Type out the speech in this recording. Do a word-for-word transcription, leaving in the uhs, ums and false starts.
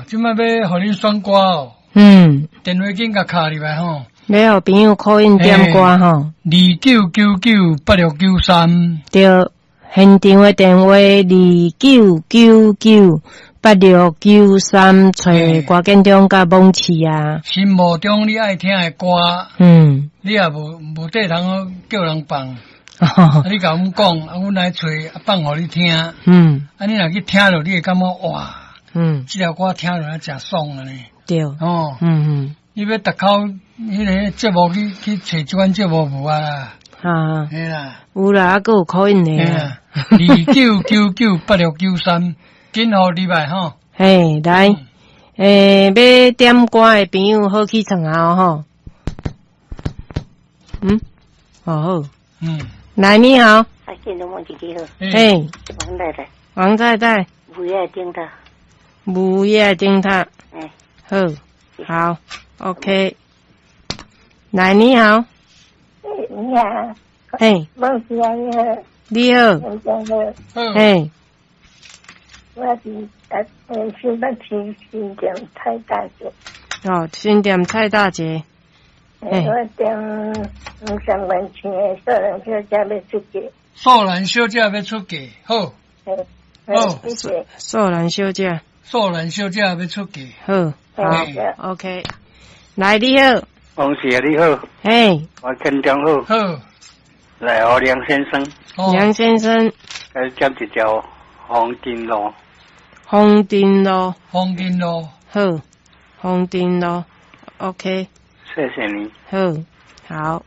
這擺欲予恁選歌哦。嗯。電話緊共敲入來吼。欲予朋友 call in 點歌吼。二九九九八六九三。對，現場的電話二九九九八六九三，揣歌建中佮網市啊。心目中你愛聽的歌，嗯，你也無無地通叫人放，啊，你共阮講，啊，阮來揣，啊，放予你聽。嗯。啊，你若去聽著，你會感覺哇，嗯，這條歌聽落來誠爽按呢。對。哦。嗯嗯。你欲逐口彼个節目去去揣這款節目無啊啦？啊。嘿啦。有啦，啊，閣有 call in 的。二九九九八六九三，緊予入來吼。嘿，來，欸，欲點歌的朋友好起床啊吼。嗯，好好。嗯。來，你好。啊，見到我自己好。嘿。王太太。王太太。霧夜燈塔。霧夜燈塔。欸。好，好，OK。來，你好。你好。嘿。王先生你好。你好。王先生好。嘿。我是啊，新北市新店蔡大姐。哦，新店蔡大姐。欸，我點黃三元唱的《素蘭小姐欲出嫁》。素蘭小姐欲出嫁，好。好，謝謝。素蘭小姐。素蘭小姐欲出嫁。好，好，OK。來，你好。王姐你好。嘿。我建中好。好。來，我梁先生。梁先生。來點一條風箏路。風箏路。風箏路。好，風箏路，OK。謝謝你。好，好。